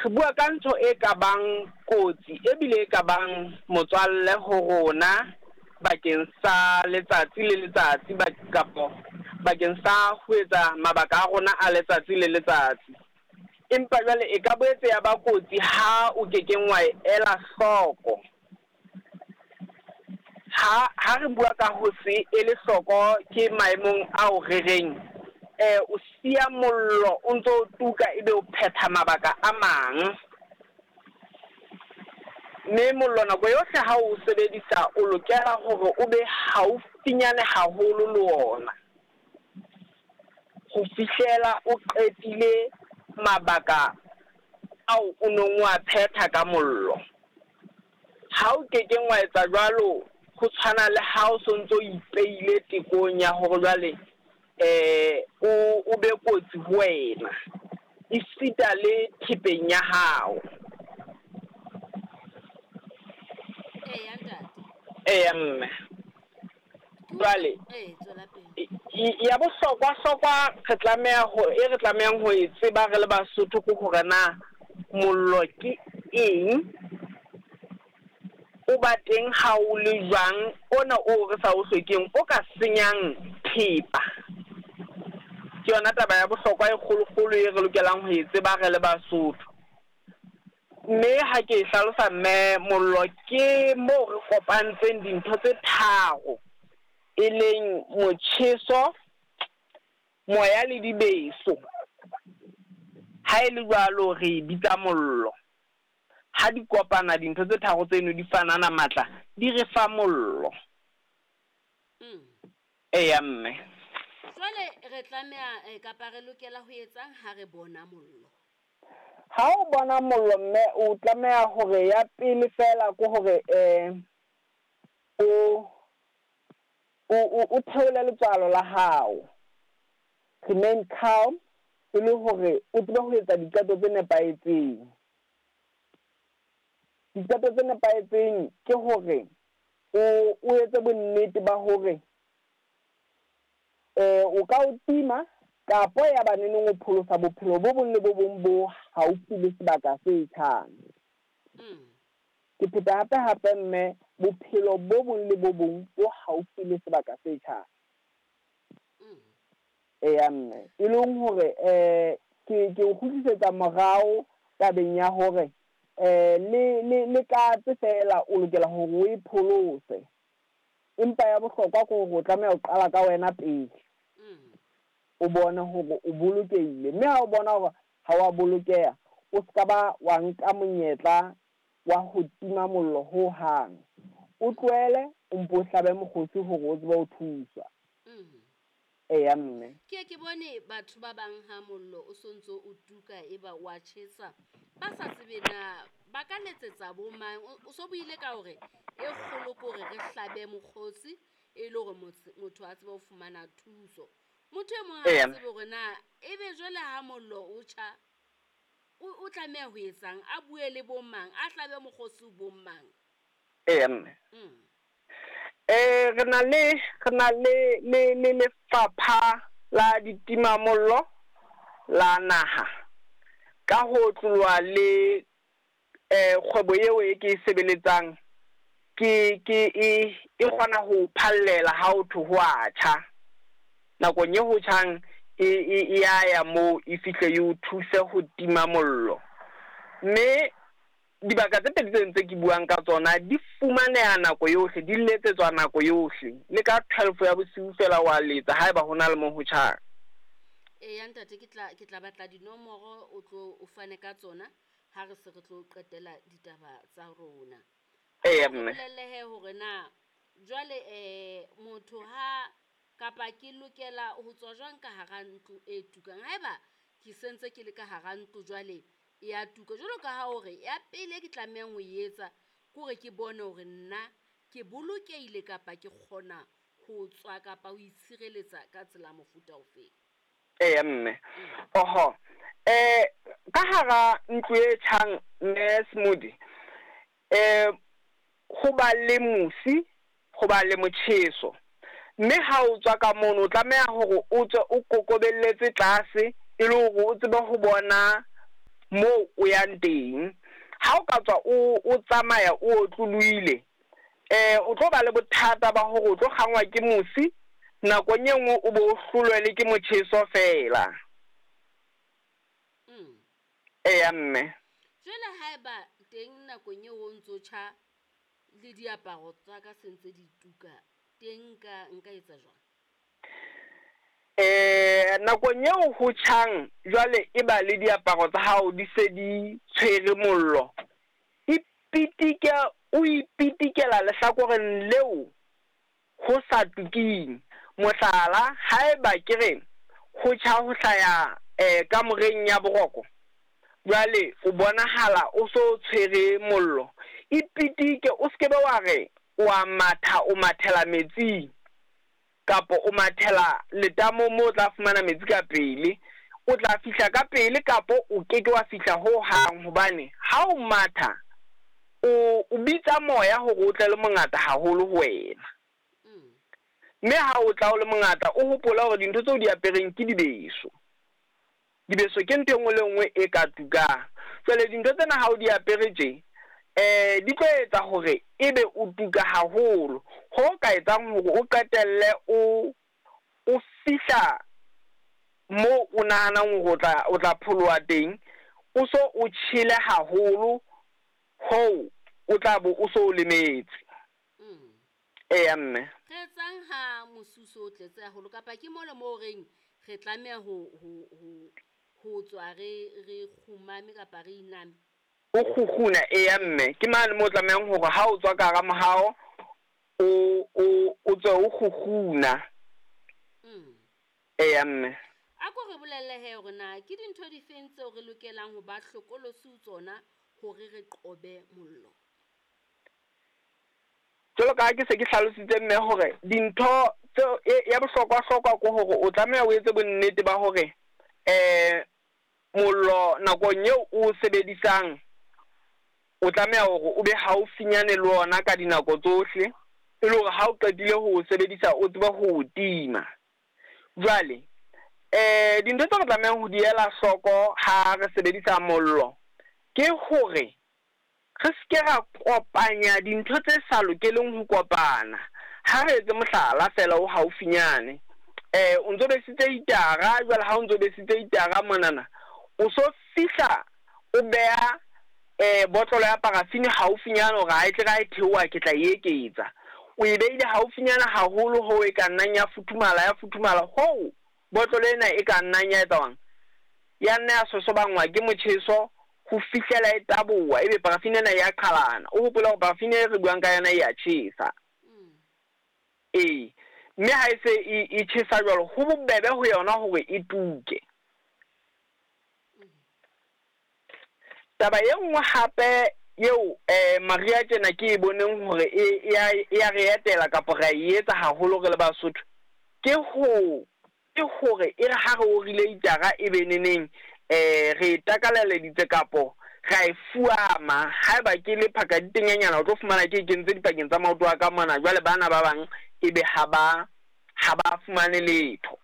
Re bua ka ntho e ka bang kotsi ebile e ka bang motswalle ho rona bakeng sa letsatsi le letsatsi kapo bakeng sa ho etsa mabaka a rona a letsatsi le letsatsi. Empa jwale e ka boetse ya ba kotsi ha o ke keng wa e ela hloko. Ha ha re bua ka ho se ele hloko ke maemong ao re reng o siya mollo o ntso o tuka ebe o phetha mabaka a mang. Mme mollo nako yohle ha o sebedisa o lokela hore o be haufinyane haholo le ona ho fihlela o qetile mabaka ao o nong o a phetha ka mollo. Ha o ke keng wa etsa jwalo, ho tshwana le ha o so ntso o ipeile tekong ya hore jwale o be kotsi ho wena, esita le thepeng ya hao. Eya ntate. Eya mme. Jwale Tswela pele. Ya bohlokwa hlokwa re tlameha ho e re tlamehang ho e tseba re le Basotho ke hore na mollo ke eng, o ba teng ha o le jwang, ona o re sa o hlokeng o ka senyang thepa. Ke yona taba ya bohlokwa e kgolokgolo e re lokelang ho e tseba re le Basotho. Mme ha ke e hlalosa mme, mollo ke moo re kopantseng dintho tse tharo, e leng motjheso, moya le dibeso. Ha e le jwalo re e bitsa mollo. Ha di kopana dintho tse tharo tseno di fanana matla, di re fa mollo. Eya mme. Jwale re tlameha kapa re lokela ho etsang ha re bona mollo? Ha o bona mollo mme, o tlameha hore ya pele fela ke hore o theole letswalo la hao. Remain calm e le hore o tsebe ho etsa diqeto tse nepahetseng. Diqeto tse nepahetseng ke hore o etse bonnete ba hore o ka o tima kapo ya ba neneng o pholosa bophelo bo bong le bo bong bo haufi le sebaka se tjhang. Ke pheta hape hape mme, bophelo bo bong le bo bong bo haufi le sebaka se tjhang. Eya mme, e leng hore ke o kgutlisetsa morao tabeng ya hore le katse fela o lokela hore o e pholose. Empa ya bohlokwa ke hore o tlameha ho qala ka wena pele. O bone hore o bolokehile, mme ha o bona hore ha wa bolokeha, o ska ba wa nka monyetla wa ho tima mollo ho hang. O tlohele o mpo o hlabe mokgosi hore o tsebe ho thuswa. Eya mme. Ke ke bone batho ba bang ha mollo o sontso o tuka e ba wa tjhesa, ba sa tsebe na ba ka letsetsa bo mang. O so buile ka hore e kgolo ke hore re hlabe mokgosi e le hore motho a tsebe ho fumana thuso. Motho e mong ha a tsebe hore na ebe jwale ha mollo o tjha o tlameha ho etsang, a bue le bo mang, a hlabe mokgosi ho bo mang. Eya mme. Re na le lefapha la ditimamollo la naha ka ho tlolwa le kgwebo eo e ke e sebeletsang ke e kgona ho phallela ha o thwe ho a tjha. Nakong e ho tjhang e ya ya moo e fihle e o thuse ho tima mollo. Mme dibaka tse pedi tseno tse ke buang ka tsona di fumaneha nako yohle, di letsetswa nako yohle. Le ka 12 ya bosiu fela wa letsa haeba ho na le moo ho tjhang. Eya ntate, ke tla batla dinomoro o tlo o fane ka tsona ha re se re tlo qetela ditaba tsa rona. Eya mme. Bolellehe hore na jwale motho ha kapa ke lokela ho tswa jwang ka hara ntlo e tukang. Haeba ke sentse ke le ka hara ntlo jwale e ya tuka, jwalo ka ha hore ya pele ke tlamehang ho etsa ke hore ke bone hore nna ke bolokehile kapa ke kgona ho tswa kapa ho itshireletsa ka tsela mofuta ofeng. Eya mme. Oho. Ka hara ntlo e tjhang mme Smoothie, ho ba le mosi, ho ba le motjheso. Mme ha o tswa ka mono o tlameha hore o tswe o kokobelletse tlase e le hore o tsebe ho bona moo o yang teng. Ha o ka tswa o tsamaya o otlolohile, o tlo ba le bothata ba hore o tlo kgangwa ke mosi, nakong e nngwe o bo o hlolwe le ke motjheso feela. Eya mme. Jwale haeba teng nakong eo o ntso tjha le diaparo tsa ka se ntse di tuka, teng nka etsa jwang? Nakong eo ho tjhang jwale e ba le diaparo tsa hao di se di tshwere mollo, ipitike, o ipitikela lehlakoreng leo ho sa tuking. Mohlala, haeba ke re ho tjha ho hlaya kamoreng ya boroko, jwale o bonahala o so tshwere mollo, ipitike, o se ke be wa re wa matha o mathela metsing kapo o mathela letamong moo o tla fumana metsi ka pele. O tla fihla ka pele kapo o keke wa fihla ho hang, hobane ha o matha o bitsa moya hore o tle le mongata haholo ho wena. Mme ha o tla o le mongata, o hopole hore dintho tseo di apereng ke dibeso. Dibeso ke ntho e nngwe le nngwe e ka tukang. Jwale dintho tsena ha o di apere tje, di tlo etsa hore ebe o tuka haholo, ho ka etsang hore o qetelle o fihla moo o nahanang hore o tla pholoha teng, o so o tjhele haholo hoo o tla bo o so o lemetse. Eya mme. Re etsang ha mosuso o tletse haholo, kapa ke mole moo reng re tlameha ho tswa re kgumame kapa re iname? O kgukguna, eya mme. Ke mane moo o tlamehang hore ha o tswa ka hara mohao, o tswe o kgukguna. Eya mme. A ko re bolelle he hore na ke dintho difeng tseo re lokelang ho ba hlokolosi ho tsona hore re qobe mollo? Jwalo ka ha ke se ke hlalositse mme hore dintho tseo ya bohlokwa-hlokwa ke hore o tlameha o etse bonnete ba hore mollo nakong eo o sebedisang o tlameha hore o be haufinyane le ona ka dinako tsohle, e le hore ha o qetile ho o sebedisa o tsebe ho o tima. Jwale dintho tseo re tlamehang ho di ela hloko ha re sebedisa mollo ke hore re se ke ra kopanya dintho tse sa lokeleng ho kopana. Ha re etse mohlala feela o haufinyane, o ntso besitse hitara, jwale ha o ntso besitse hitara monana, o so fihla o beha botlolo ya parafini haufinyane hore ha e tle ra e theoha ke tla e eketsa. O e beile haufinyana haholo hoo e ka nnang ya futhumala hoo botlolo ena e ka nnang ya etsa jwang, ya nna ya sosobangwa ke motjheso ho fihlela e taboha, ebe parafini ena ya qhalana. O hopole hore parafini e re buang ka yona e ya tjhesa. Ee, mme ha e se e tjhesa jwalo, ho bobebe ho yona hore e tuke. Taba e nngwe hape eo Maria tjena ke e boneng hore e ya re etela kapa ra e etsa haholo re le Basotho, ke hore e re ha re orile hitara e be neneng re takaleleditse kapo ra e fuama. Haeba ke le phaka ditenyanyana, o tlo fumana ke e kentse dipakeng tsa maoto a ka mona, jwale bana ba bang ebe ha ba fumane letho.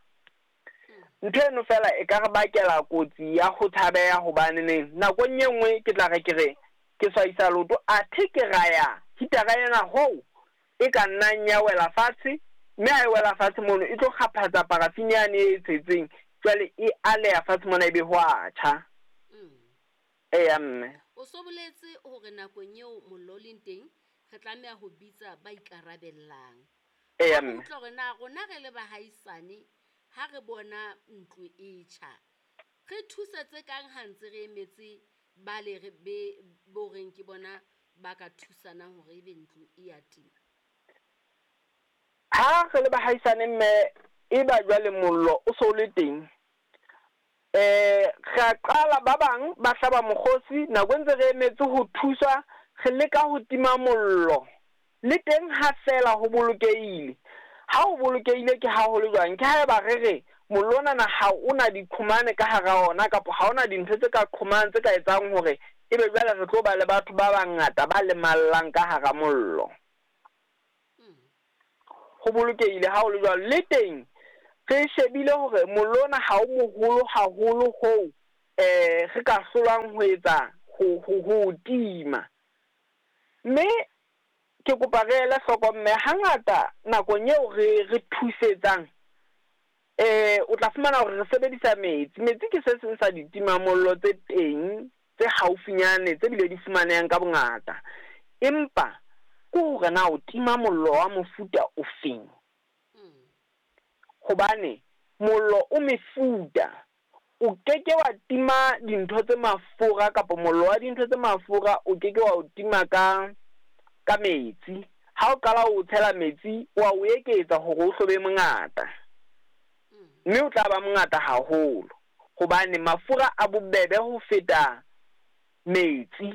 Ntho eno fela e ka re bakela kotsi ya ho tshabeha, hobane neng nakong e nngwe ke tla re ke re ke swaisa leoto, athe ke raya hitara ena hoo e ka nnang ya wela fatshe, mme ha e wela fatshe mono e tlo kgaphatsa parafini yane e tshetseng, jwale e aleha fatshe mona ebe ho a tjha. Eya mme. O so boletse hore nakong eo mollo o leng teng re tlameha ho bitsa ba ikarabellang. Eya mme. Utlwa hore na rona re le bahaisane ha re bona ntlo e tjha, re thusetse kang ha ntse re emetse ba le re be bo reng ke bona ba ka thusanang hore ebe ntlo e ya tima? Ha re le bahaisane mme e ba jwale mollo o so le teng, re qala ba bang ba hlaba mokgosi nako ntse re emetse ho thuswa, re leka ho tima mollo. Le teng ha fela ho bolokehile. Ha o bolokehile ke haholo jwang? Ke haeba re re mollo ona ha ona diqhomane ka hara ona, kapa ha ona dintho tse ka qhomang tse ka etsang hore ebe jwale re tlo ba le batho ba bangata ba lemallang ka hara mollo. Ho bolokehile ha o le jwalo. Le teng re shebile hore mollo ona ha o moholo haholo hoo Re ka hlolwang ho etsa ho, ho, ho o tima. Mme ke kopa re ele hloko, mme hangata nakong eo re, re thusetsang, o tla fumana hore re sebedisa metsi. Metsi ke se seng sa ditimamollo tse teng tse haufinyane tse bile di fumanehang ka bongata. Empa ke hore na o tima mollo wa mofuta ofeng? Hobane mollo o mefuta. O ke ke wa tima dintho tse mafura kapa mollo wa dintho tse mafura o ke ke wa o tima ka ka metsi. Ha o qala o tshela metsi, wa o eketsa hore o hlo be mongata. Mme o tla ba mongata haholo hobane mafura a bobebe ho feta metsi.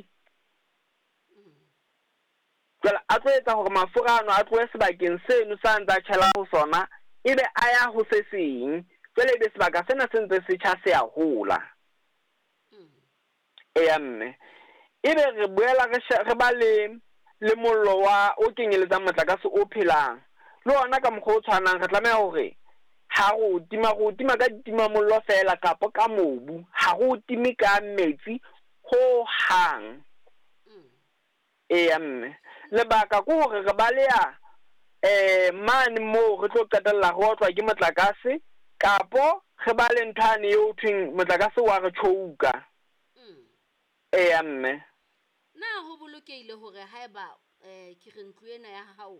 Jwale a tlo etsa hore mafura ano a tlohe sebakeng seno sa ntsa tjhela ho sona, ebe a ya ho se seng. Jwale ebe sebaka sena se ntse se tjha se a hola. Eya mme. Ebe re boela re re ba le le mollo wa o kenyeletsang motlakase o phelang. Le ona ka mokgwa o tshwanang re tlameha hore ha re o tima, re o tima ka ditimamollo feela kapa ka mobu. Ha re o time ka metsi ho hang. Eya mme. Lebaka ke hore re baleha mane moo re tlo qetella re otlwa ke motlakase kapo re ba le ntho yane eo thweng motlakase wa re tjhouka. Eya mme. Na ho bolokehile hore haeba ke re ntlo ena ya hao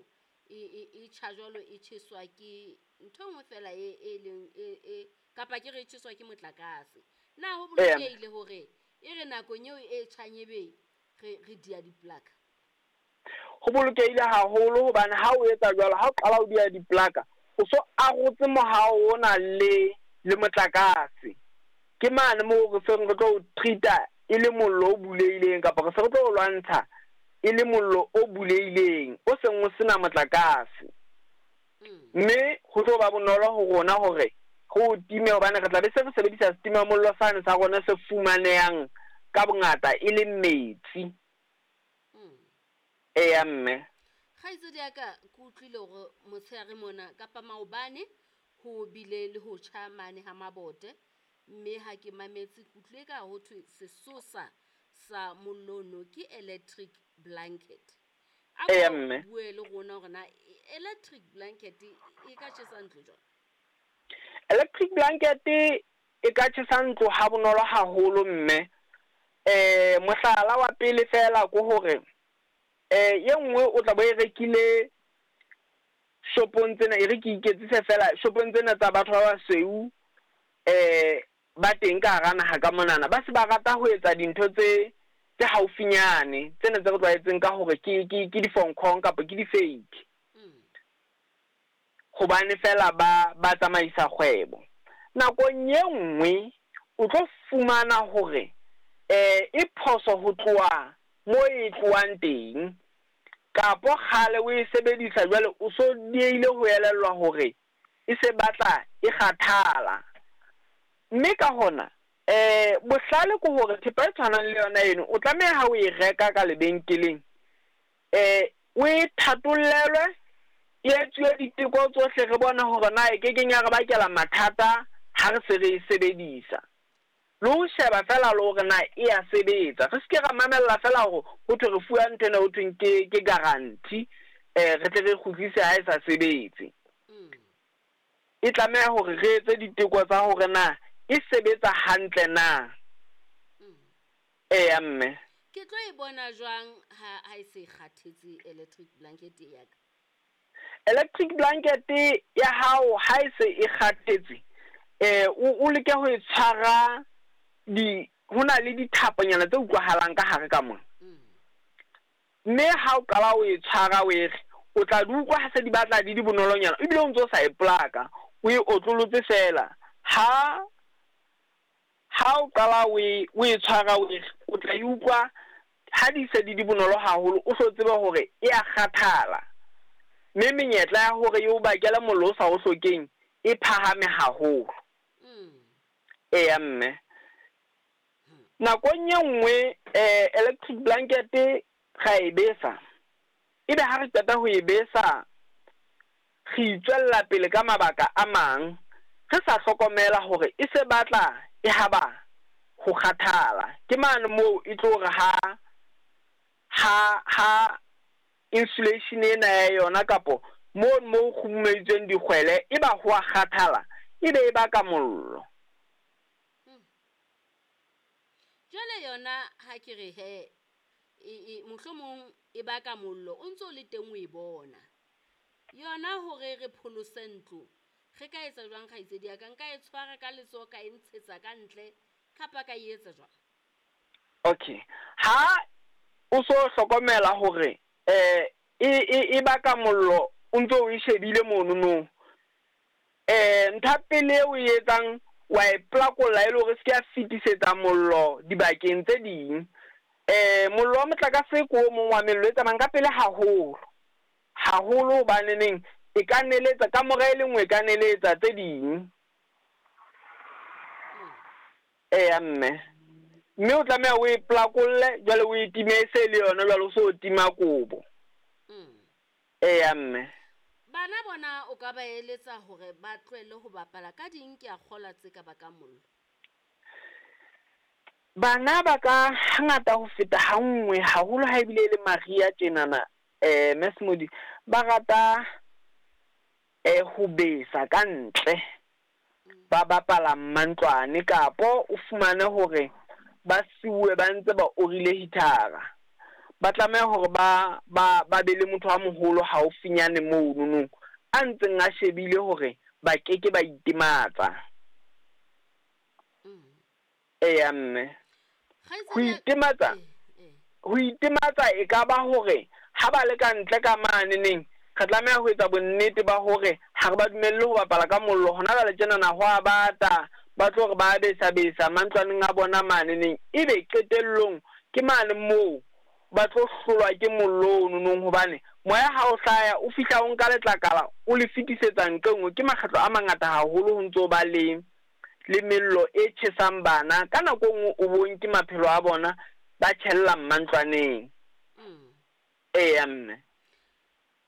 e e tjha jwalo e tjheswa ke ntho e nngwe feela e e leng e e kapa ke re e tjheswa ke motlakase. Na ho bolokehile hore e re nakong eo e tjhang ebe re re dia diplaka? Ho bolokehile haholo hobane ha o etsa jwalo, ha o qala o dia diplaka, o so arotse mohao ona le le motlakase. Ke mane moo re seng re tlo o treat-a e le mollo o bulehileng kapa re se re tlo o lwantsha e le mollo o bulehileng, o seng o sena motlakase. Mme ho tlo ba bonolo ho rona hore re o time hobane re tla be se re sebedisa setimamollo sane sa rona se fumanehang ka bongata e leng metsi. Eya mme. Kgaitsedi ya ka, ke utlwile hore motshehare mona kapa maobane ho bile le ho tjha mane ha Mabote, mme ha ke mametse ke utlwile ka ho thwe sesosa sa mollo ono ke electric blanket. A Eya ko mme. bue le rona hore na electric blanket e ka tjhesa ntlo jwang? Electric blanket e ka tjhesa ntlo ha bonolo haholo mme. Mohlala wa pele feela ke hore ye nngwe o tla bo e rekile shopong tsena, e re ke iketsise feela shopong tsena tsa batho ba basweu ba teng ka hara naha ka monana. Ba se ba rata ho etsa dintho tse tse haufinyane tsena tse re tlwaetseng ka hore ke ke ke di-fonkong kapa ke di-fake. Hobane feela ba ba tsamaisa kgwebo. Nakong ye nngwe o tlo fumana hore e phoso ho tloha mo e tlohang teng kapo kgale o e sebedisa jwale o so diehile ho elellwa hore e se batla e kgathala. Mme ka hona bohlale ke hore thepa e tshwanang le yona eno o tlameha ha o e reka ka lebenkeleng o e thatollelwe, e etsuwe diteko tsohle re bone hore na e kekeng ya re bakela mathata ha re se re e sebedisa. Le ho sheba feela le hore na e ya sebetsa. Re seke ra mamella feela hore ho thwe re fuwa ntho ena ho thweng ke ke guarantee re tle re kgutlise ha e sa sebetse. E tlameha hore re etse diteko tsa hore na e sebetsa hantle na. Eya mme. Ke tlo e bona jwang ha ha e se e kgathetse electric blanket ya ka? Electric blanket ya hao ha e se e kgathetse, o leke ho e tshwara di ho na le dithaponyana tse utlwahalang ka hare ka mona. Mme ha o qala o e tshwara o e re, o tla di utlwa ha se di batla di di bonolonyana ebile o ntso sa e plaka, o e otlolotse feela. Ha ha o qala o e o e tshwara o e re, o tla e utlwa ha di se di di bonolo haholo, o hlo tsebe hore e a kgathala. Mme menyetla ya hore e o bakele mollo o sa o hlokeng e phahame haholo. Eya mme. Nakong e nngwe electric blanket ra e besa. Ebe ha re qeta ho e besa, re itswella pele ka mabaka a mang, re sa hlokomela hore e se batla e haba ho kgathala. Ke mane moo e tlo re ha ha ha insulation ena ya yona kapo mono moo kgurumeditsweng dikgwele e ba ho a kgathala, e be e baka mollo. Jwale yona ha ke re he e, e, mohlomong e baka mollo o ntso o le teng o e bona. Yona hore re pholose ntlo, re ka etsa jwang kgaitsedi ya ka? Nka e tshwara ka letsoho ka e ntshetsa ka ntle kapa ka e etsa jwang? Okay. Ha o so hlokomela hore e e e baka mollo o ntso o e shebile monono, ntho ya pele eo o e etsang wa e plakolla e le hore e se ke ya fetisetsa mollo dibakeng tse ding. Mollo wa motlakase ke o mong wa mello e tsamayang ka pele haholo, haholo hobaneneng e ka neletsa kamora e le nngwe e ka neletsa tse ding. Eya mme. Mme o tlameha o e plakolle jwale o e time e se le yona jwale o so tima kobo. Eya mme. Bana bona o ka ba eletsa hore ba tlohelle ho bapala ka ding ke a kgolwa tse ka bakang mollo? Bana ba ka hangata ho feta ha nngwe haholo ha ebile e le mariha tjenana Mme ba rata ho besa ka ntle, ba bapala mmantlwane kapo o fumane hore ba siuwe ba ntse ba orile heater-a. Ba tlameha hore ba ba ba be le motho a moholo haufinyane monono a ntseng a shebile hore ba keke ba itematsa. Eya mme. Ho itematsa, ho itematsa e ka ba hore ha ba le ka ntle ka maneneng, re tlameha ho etsa bonnete ba hore ha re ba dumelle ho bapala ka mollo. Hona jwale tjenana ho a bata, ba tlo re ba besa-besa mantlwaneng a bona maneneng, ebe qetellong ke mane moo ba tlo hlolwa ke mollo ononong hobane moya ha o hlaya o fihla o nka letlakala o le fetisetsa nqe nngwe. Ke makgetlo a mangata haholo ho ntso ba le le mello e tjhesang bana ka nako e nngwe o bo nke maphelo a bona ba tjhella mmantlwaneng. Eya mme.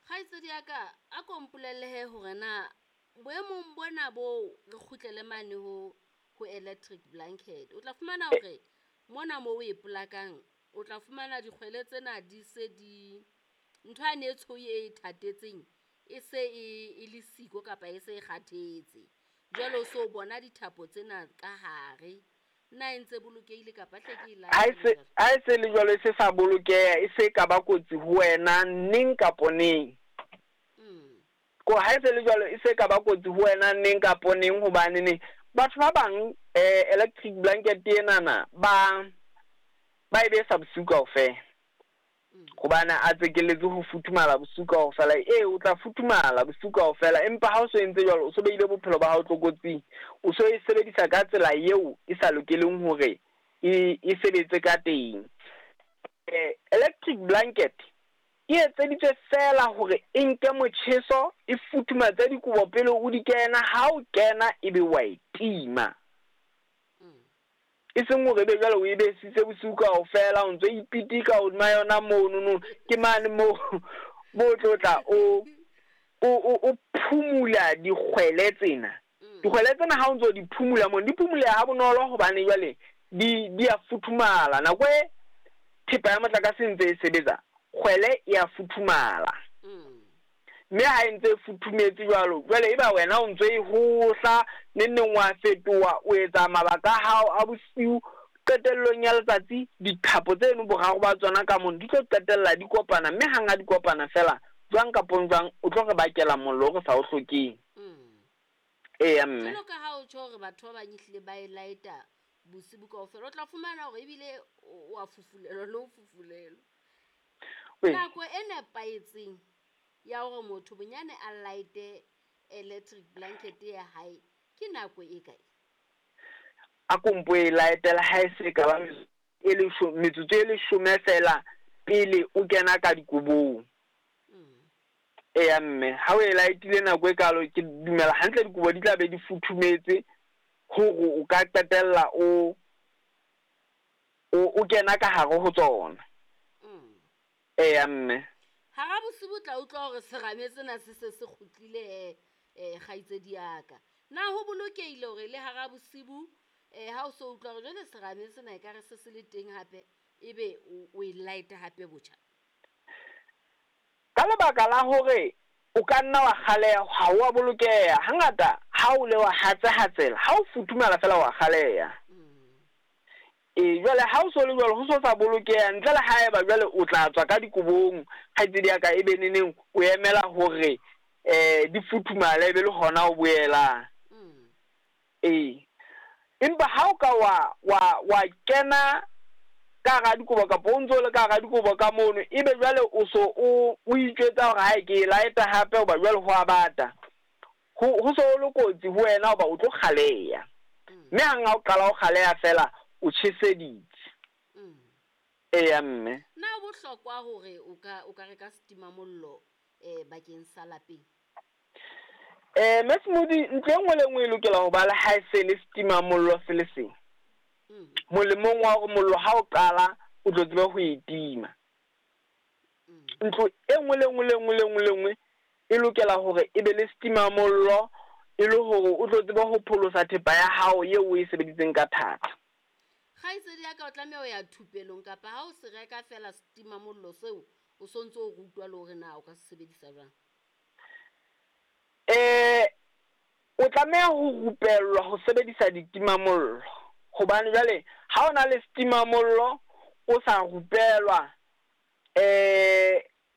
Kgaitsedi ya ka, a ko mpolelle he hore na boemong bona bo re kgutlele mane ho ho electric blanket. O tla fumana hore mona mo o e polakang, o tla fumana dikgwele tsena di se di ntho yane e tshweu e thatetseng e se e e le siko kapa e se e kgathetse. Jwale o so bona dithapo tsena ka hare. Na e ntse bolokehile kapa hle ke e Ha e se ha e se le jwalo e se sa bolokeha, e se ka ba kotsi ho wena neng kapo neng. Ko ha e se le jwalo e se ka ba kotsi ho wena neng kapo neng hobane neng batho ba bang electric blanket enana ba ba e besa bosiu kaofela. Hobane a tsekelletse ho futhumala bosiu kaofela. Ee, o tla futhumala bosiu kaofela, empa ha o so entse jwalo o so behile bophelo ba hao tlokotsing. O so e sebedisa ka tsela eo e sa lokeleng hore e e sebetse ka teng. Electric blanket e etseditswe feela hore e nke motjheso, e futhumatse dikobo pele o di kena, ha o kena ebe wa e tima. E seng hore ebe jwale o e besitse bosiu kaofela, o ntso ipitika hodima yona monono, ke mane moo mo o tlo tla o o o phumula dikgwele tsena. Dikgwele tsena ha o ntso di phumula mono, di phumuleha ha bonolo hobane jwale di di a futhumala. Nako e thepa ya motlakase e ntse e sebetsa, kgwele e a futhumala. Mme ha e ntse e futhumetse jwalo, jwale eba wena o ntso e hohla, neng neng wa fetoha, o etsa mabaka a hao a bosiu. Qetellong ya letsatsi, dithapo tseno boraro ba tsona ka mono di tlo qetella di kopana, mme hang ha di kopana feela, jwang kapo jwang, o tlo re bakela mollo o re sa o hlokeng. Eya mme. Jwalo ka ha o tjho hore batho ba bang ehlile ba e laeta bosibu kaofela, o tla fumana hore ebile o a fufulelwa le ho fufulelwa. Nako e nepahetseng ya hore motho bonyane a light-e electric blanket ya hae ke nako e kae? A ko mpo e laetela ha e se ka ba e metsotso e leshome feela pele o kena ka dikobong. Eya mme, ha o e laetile nako e kalo, ke dumela hantle dikobo di tla be di futhumetse hore o ka qetella o o kena ka hare ho tsona. Eya mme. Hara bosibu o tla utlwa hore serame sena se se se kgutlile he kgaitsedi ya ka. Na ho bolokehile hore le hara bosibu Um ha o so utlwa hore jwale serame sena ekare se se le teng hape, ebe o e light hape botjha? Ka lebaka la hore o ka nna wa kgaleha, ha o a bolokeha. Hangata ha o le wa hatsehatsela, ha o futhumala fela wa kgaleha. Ee, jwale ha o so le jwalo, ho so sa bolokeha, ntle le haeba jwale o tla tswa ka dikobong, kgaitsedi ya ka, e be neneng o emela hore di futhumale e be le hona o boelang. Ee. Empa ha o ka wa wa wa kena ka hara dikobo kapa o ntso le ka hara dikobo ka mono, ebe jwale o so o o itjwetsa hore hae ke e light-a hape hoba jwale ho a bata. Ho ho so le kotsi ho wena hoba o tlo kgaleha. Mme hang ha o qala ho kgaleha fela, o tjheseditse. Eya mme. Na ho bohlokwa hore o ka o ka reka setimamollo bakeng sa lapeng? Mme Smoothie, ntlo e nngwe le e nngwe e lokela ho ba le haese le setimamollo se le seng. Molemong wa hore mollo ha o qala o tlo tsebe ho e tima. Ntlo e nngwe le nngwe le nngwe le nngwe le nngwe e lokela hore e be le setimamollo e le hore o tlo tsebe ho pholosa thepa ya hao eo o e sebeditseng ka thata. Kgaitsedi ya ka, o tlameha ho ya thupelong kapa ha o se reka fela setimamollo seo, o so ntso o rutwa le hore na o ka se sebedisa jwang? O tlameha ho rupellwa ho sebedisa ditimamollo, hobane jwale ha o na le setimamollo o sa rupelwa,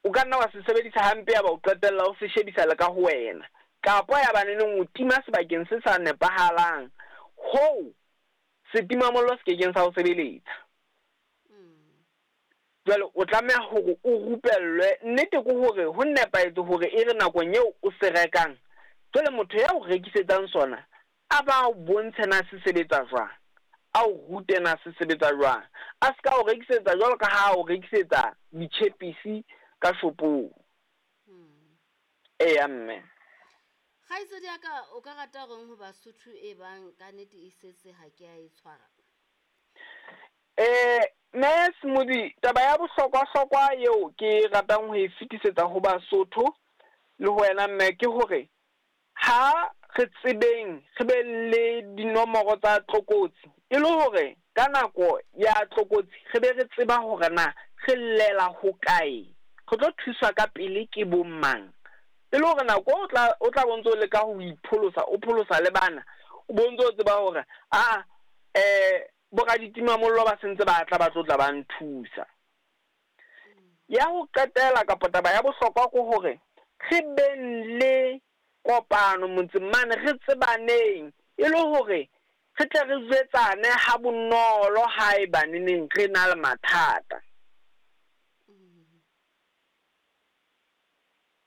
o ka nna wa se sebedisa hampe ya ba o qetella o se shebisa le ka ho wena, kapa ya ba neneng o tima sebakeng se sa nepahalang hoo setimamollo se kekeng sa o sebeletsa. Jwale o tlameha hore o rupellwe. Nnete ke hore ho nepahetse hore e re nakong eo o se rekang, jwale motho ya o rekisetsang sona a ba o bontshe na se sebetsa jwang, a o rute na se sebetsa jwang, a se ka o rekisetsa jwalo ka ha o rekisetsa ditjhepisi ka shopong. Eya mme. Kgaitsedi ya ka, o ka rata horeng ho Basotho e bang ka nnete e setse ha ke a e tshwara? Mme Smoothie, taba ya bohlokwa-hlokwa eo ke ratang ho e fetisetsa ho Basotho le ho wena mme ke hore ha re tsebeng re be le dinomoro tsa tlokotsi, e le hore ka nako ya tlokotsi re be re tseba hore na re llela hokae, re tlo thuswa ka pele ke bo mang, e le hore nako o tla o tla bo ntso leka ho ipholosa, o pholosa le bana, o bo ntso tseba hore a boraditimamollo ba sentse ba tla ba tlo tla ba nthusa. Ya ho qetela kapa taba ya bohlokwa ke hore re beng le kopano motseng mane, re tsebaneng e le hore re tle re jwetsane ha bonolo haeba neneng re na le mathata.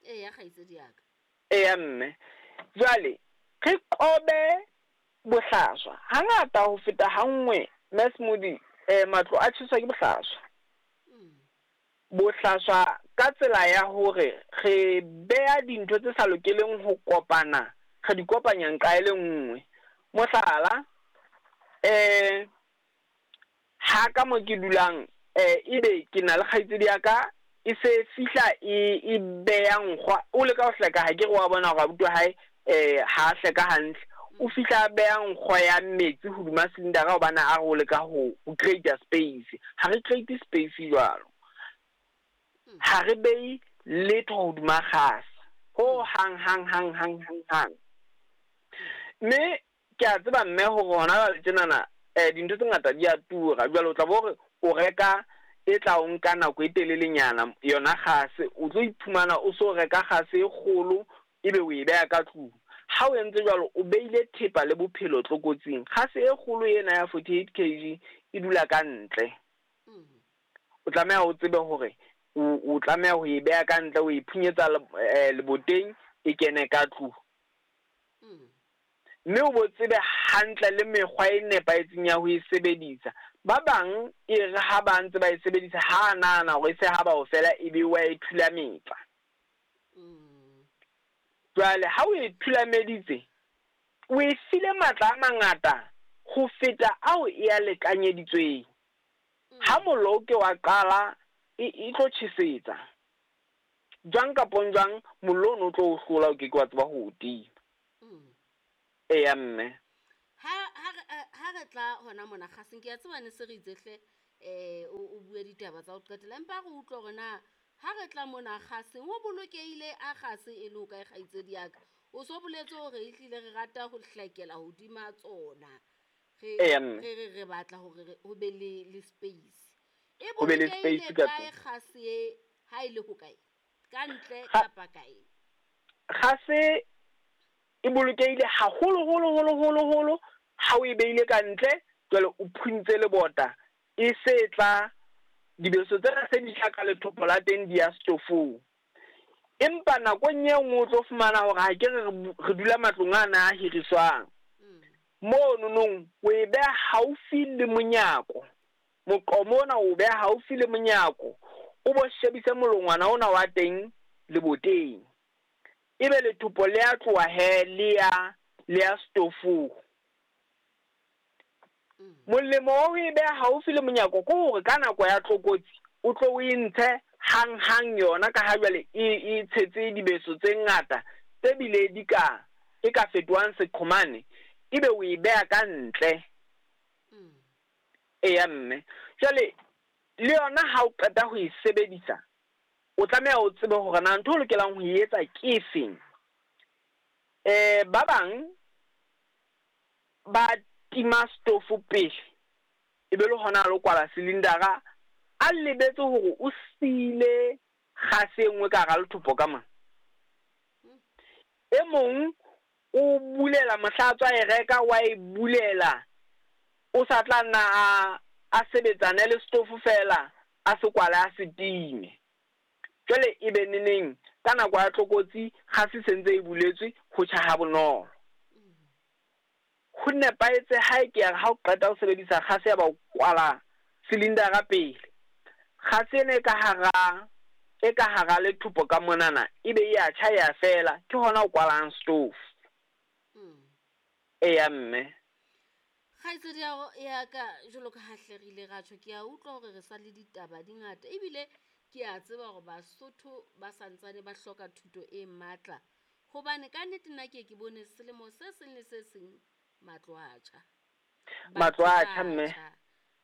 Eya kgaitsedi ya ka. Eya mme. Jwale re qobe bohlaswa. Hangata ho feta ha nngwe, Mme Smoothie, matlo a tjheswa ke bohlaswa. Bohlaswa ka tsela ya hore re beha dintho tse sa lokeleng ho kopana, re di kopanya nqa e le nngwe. Mohlala, ha ka mo ke dulang, ebe ke na le kgaitsedi ya ka, e se fihla e beha nkgwa, o leka ho hleka, ha ke re wa bona hore abuti wa hae ha hleka hantle. O fihla a beha nkgo ya metsi hodima cylinder hobane a re o leka ho create space. Ha re create space jwalo. Ha re behe letho hodima kgase ho hang hang hang hang hang hang. Mme ke a tseba mme hore hona jwale tjenana dintho tse ngata di a tura. Jwale o tla bo hore o reka e tla o nka nako e telelenyana yona kgase, o tlo iphumana o so reka kgase e kgolo ebe o e beha ka tlung. Ha o entse jwalo, o beile thepa le bophelo tlokotsing. Kgase e kgolo ena ya 48 kg e dula ka ntle. O tlameha o tsebe hore o tlameha ho e beha ka ntle, o e phunyetsa leboteng e kene ka tlung. Mme o bo tsebe hantle le mekgwa e nepahetseng ya ho e sebedisa. Ba bang e re ha ba ntse ba e sebedisa, ha nahana hore e se ha ba o fela ebe wa e thulametsa. Jwale ha o e thulameditse, o e file matla a mangata ho feta ao e a lekanyeditsweng. Ha mollo o ke wa qala, e tlo tjhesetsa. Jwang kapa jwang, mollo ono o tlo o hlola, o ke ke wa tseba ho o tima. Eya mme. Ha Ha re tla hona mona kgaseng, ke a tseba ne se re itse hle o bue ditaba tsa ho qetela, empa re utlwe hore na ha re tla mona kgaseng ho bolokehile a kgase e le ho kae, kgaitsedi ya ka? O so boletse hore ehlile re rata ho hlekela hodima tsona. Re Eya, mme. re re re batla hore ho be le space. E Ho be le bolokehile space ka kae tlung. kgase e, ha e le ho kae? Ka ntle kapa kae? Kgase e bolokehile haholo holo holo holo holo ha o e beile ka ntle, jwale o phuntse lebota, e se tla dibeso tsena se di tla ka lethopo la teng di ya stofong. Empa nakong e nngwe o tlo fumana hore ha ke re re dula matlong ana a hiriswang. Mono nong o e beha haufi le monyako. Moqomo ona o beha haufi le monyako, o bo shebise molongwana ona wa teng leboteng. Ebe lethopo le a tloha he le ya stofong. Molemo wa ho e beha haufi le monyako ke hore ka nako ya tlokotsi o tlo o e ntshe hang-hang yona, ka ha jwale e tshetse dibeso tse ngata tse bile di ka e ka fetohang seqhomane, ebe o e beha ka ntle. Eya mme. Jwale le yona ha o qeta ho e sebedisa, o tlameha o tsebe hore na ntho o lokelang ho e etsa ke efeng. Ba bang ba tima stofo pele, e be le hona a lo kwala silindara, a lebetse hore o siile kgase e nngwe ka hara lethopo ka mona. E mong o bulela mohla a tswa e reka, wa e bulela, o sa tla nna a sebetsane le stofo fela, a se kwale a se time. Jwale e be neneng ka nako ya tlokotsi kgase se ntse e buletswe, ho tjha ha bonolo. Ho nepahetse ha e ke ya re ha o qeta ho sebedisa kgase ya ba o kwala silindara pele. Kgase ena e ka hara lethopo ka monana, ebe e a tjha ya fela, ke hona o kwalang stove. Eya mme. Kgaitsedi ya ka, jwalo ka ha hle re ile ra tjho, ke a utlwa hore re sa le ditaba di ngata, ebile ke a tseba hore Basotho ba santsane ba hloka thuto e matla, hobane ka nnete nna ke ye ke bone selemo se seng le se seng matlo a tjha. Matlo Batho a ba tjha mme. tjha.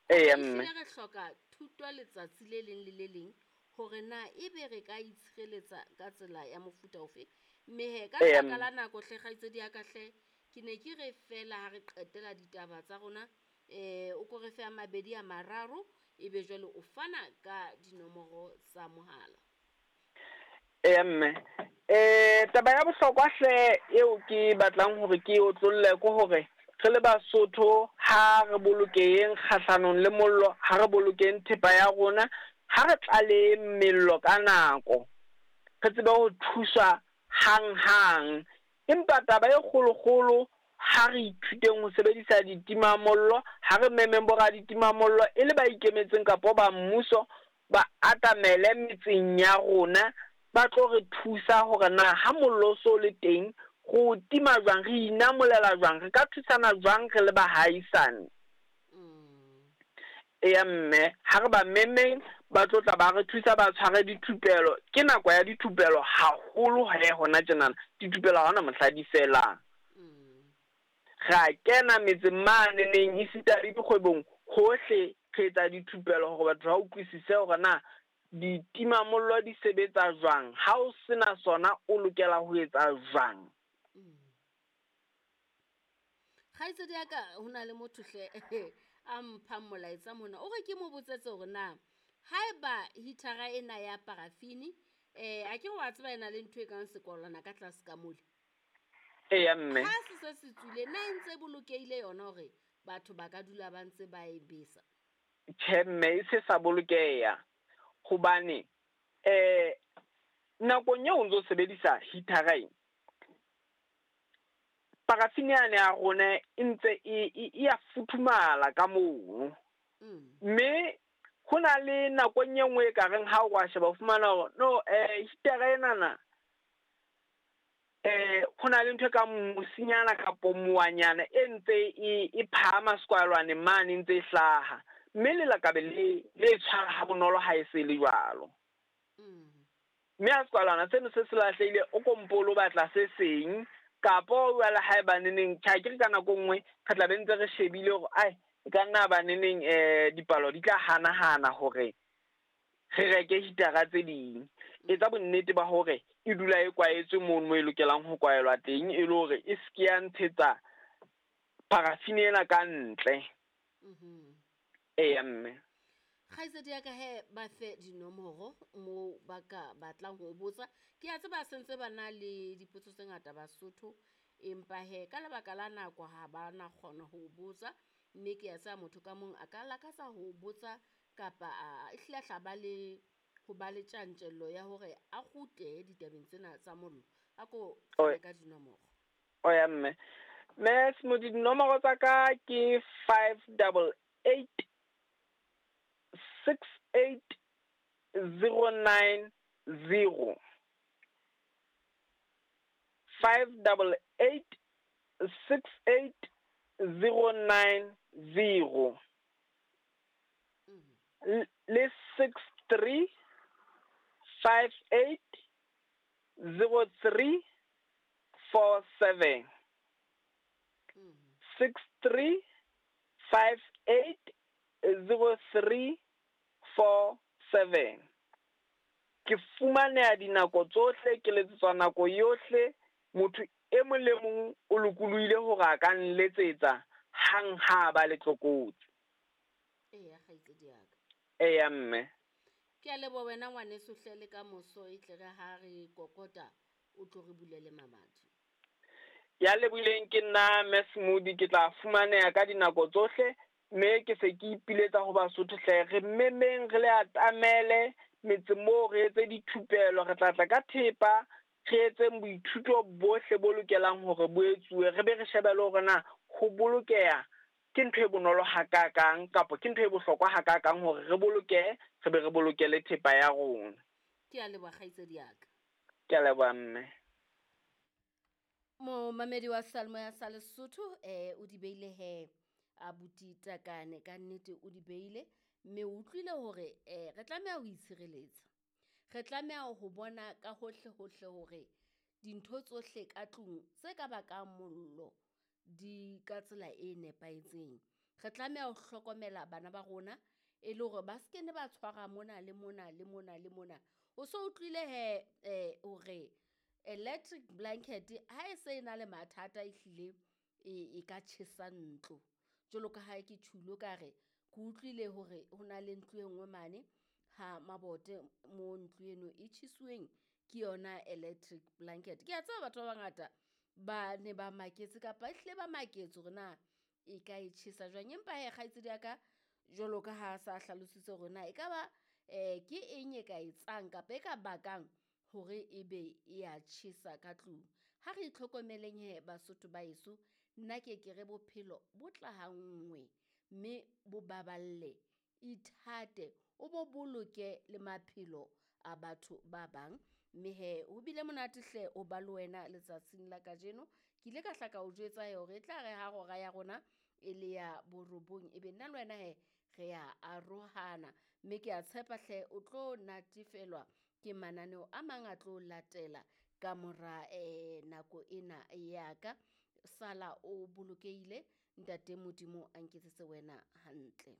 Eya Hore mme. ehlile re hloka thuto letsatsi le leng le le leng hore na ebe re ka itshireletsa ka tsela ya mofuta ofe. Mme he, ka Eya lebaka mme. la nako hle kgaitsedi ya ka hle, ke ne ke re fela ha re qetela ditaba tsa rona, o ko re fe a mabedi a mararo, ebe jwale o fana ka dinomoro tsa mohala. Eya mme. Taba ya bohlokwa hle eo ke batlang hore ke otlolle ke hore re le Basotho ha re bolokeheng kgahlanong le mollo, ha re bolokeng thepa ya rona, ha re tlaleheng mello ka nako, re tsebe ho thuswa hang-hang. Empa taba e kgolokgolo, ha re ithuteng ho sebedisa ditimamollo, ha re memeng bo raditimamollo e le ba ikemetseng kapa ba mmuso, ba atamele metseng ya rona, ba tlo re thusa hore na ha mollo o so le teng, re o tima jwang, re inamolela jwang, re ka thusana jwang re le bahaisane. Eya mme, ha re ba memeng, ba tlo tla ba re thusa, ba tshware dithupelo. Ke nako ya dithupelo haholo he hona tjenana, dithupelo ha hona mohla di felang. Re a kena metseng mane neng, esita le dikgwebong, hohle re etsa dithupelo hore batho ba utlwisise hore na ditimamollo di sebetsa jwang, ha o sena sona o lokela ho etsa jwang. Kgaitsedi ya ka, ho na le motho hle a mphang molaetsa mona, o re ke mo botsetse hore na haeba heater-a ena ya parafini, a ke wa tseba e na le ntho e kang sekwalwana ka tlase ka mole. Eya mme. Ha se se se tswile, na e ntse e bolokehile yona hore batho ba ka dula ba ntse ba e besa? Tjhe mme, e se sa bolokeha hobane nakong eo o ntso sebedisa heater-a e, parafini yane ya rona e ntse e ya futhumala ka mono. Mme ho na le nakong e nngwe e ka reng ha o wa sheba o fumana hore no, heater-a enana, ho na le ntho e kang mosinyana kapo moanyana e ntse e phahama sekwalwaneng mane e ntse e hlaha, mme lelakabe le tshwara ha bonolo ha e se le jwalo. Mme ha sekwalwana seno se se lahlehile, o kompolo o batla se seng Kapo jwale haeba neneng tjhe akere ka nako e nngwe re tla be ntse re shebile hore ai e ka nna ba neneng dipalo di tla hanahana hore re reke hitara tse ding. Etsa bonnete ba hore e dula e kwaetswe mono mo e lokelang ho kwaelwa teng, e le hore e se ke ya ntshetsa paraffin ena ka ntle. Eya mme. Kgaitsedi ya ka he ba fe dinomoro moo ba ka batlang ho botsa. Ke a tseba sentse ba na le dipotso tse ngata Basotho, empa he ka lebaka la nako ha ba na kgona ho botsa, mme ke a tseba motho ka mong a ka lakatsa ho botsa kapa a ehlile a hla ba le ho ba le tjantjello ya hore a kgutle ditabeng tsena tsa mollo. A ko fane ka dinomoro. Oya mme. Mme Smodi, dinomoro tsa ka ke 588 68 090. 588 68 090. Le 63 58 03 47. 63 58 03 47. Ke fumaneha dinako tsohle, ke letsetswa nako yohle. Motho e mong le mong o lokolohile hore a ka nletsetsa hang ha ba le tlokotsi. Eya kgaitsedi ya ka. Eya mme. Ke a leboha wena ngwaneso hle, le ka moso e tle re ha re kokota o tlo re bulele mamati. Ya lebohileng ke nna Mme Smodi, ke tla fumaneha ka dinako tsohle, mme ke se ke ipiletsa ho Basotho hle, re memeng re le atamele metse moo, re etse dithupelo, re tla tla ka thepa, re etseng boithuto bohle bo lokelang hore bo etsuwe, re be re shebe le hore na ho bolokeha ke ntho e bonolo hakakang kapa ke ntho e bohlokwa hakakang hore re bolokehe, re be re bolokele thepa ya rona. Ke a leboha kgaitsedi ya ka. Ke a leboha mme. Momamedi wa Seyalemoya sa Lesotho o di beile he abuti Takane, ka nnete o di beile, mme o utlwile hore re tlameha ho itshireletsa. Re tlameha ho bona ka hohle hohle hore dintho tsohle ka tlung tse ka bakang mollo di ka tsela e nepahetseng. Re tlameha ho hlokomela bana ba rona e le hore ba se ke ne ba tshwara mona le mona le mona le mona. O so utlwile he hore electric blanket ha e se e na le mathata ehlile e ka tjhesa ntlo. Jwalo ka ha ke tjhulo ka re ke utlwile hore ho na le ntlo e nngwe mane ha mabote mo ntlo eno e tjhesuweng ke yona electric blanket. Ke a tseba batho ba bangata ba ne ba maketse kapa ehlile ba maketse hore na e ka e tjhesa jwang, empa he kgaitsedi ya ka jwalo ka ha sa hlalositse hore na ekaba ke eng e ka etsang kapa e ka bakang hore ebe e ya tjhesa ka tlung. Ha re itlhokomeleng he Basotho ba heso, nna ke ke re bophelo bo tla ha nngwe, mme bo baballe, ithate, o bo boloke le maphelo a batho ba bang. Mme he ho bile monate hle o ba le wena letsatsing la kajeno. Ke ile ka hla ka o jwetsa he hore e tla re ha hora ya rona e le ya borobong, ebe nna le wena he re ya arohana. Mme ke a tshepa hle o tlo natefelwa ke mananeo a mang a tlo latela ka mora nako ena ya ka. Sala o bolokehile, ntate Modimo a nketsetse wena hantle.